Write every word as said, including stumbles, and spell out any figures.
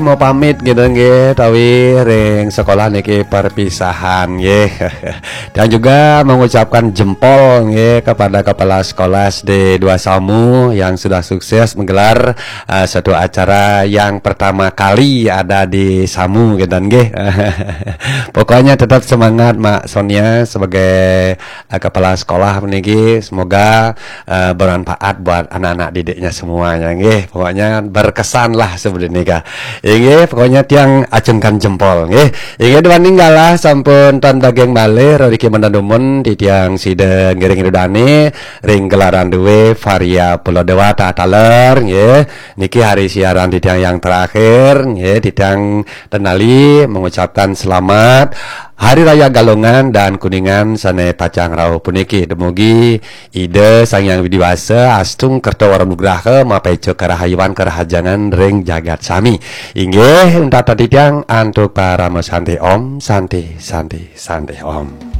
Mau pamit gitu nggih, tawi ring sekolah niki perpisahan nggih. Dan juga mengucapkan jempol nggih kepada kepala sekolah S D dua Samu yang sudah sukses menggelar uh, satu acara yang pertama kali ada di Samu gitu nggih. Pokoknya tetap semangat Mak Sonia sebagai uh, kepala sekolah niki, semoga uh, bermanfaat buat anak-anak didiknya semuanya nggih. Pokoknya berkesan lah sebelum nikah. Inggih, pokoknya tiang acungkan jempol nggih. Inggih, duaning galah sampun tan daging malih reriki mendan dumun titiang sida ngiring idudane ring gelaran duwe Varia Pulau Dewata taler nggih. Niki hari siaran titiang yang terakhir nggih, titiang tenali mengucapkan selamat Hari Raya Galungan dan Kuningan sane pacang rauh puniki. Dumugi Ida Sang Hyang Widi Wasa astung kerta wara nugraha mapeca karahayuan karahajengan ring jagat sami. Inggih, untat titiang antuk parama santi om, santi, santi, santi om.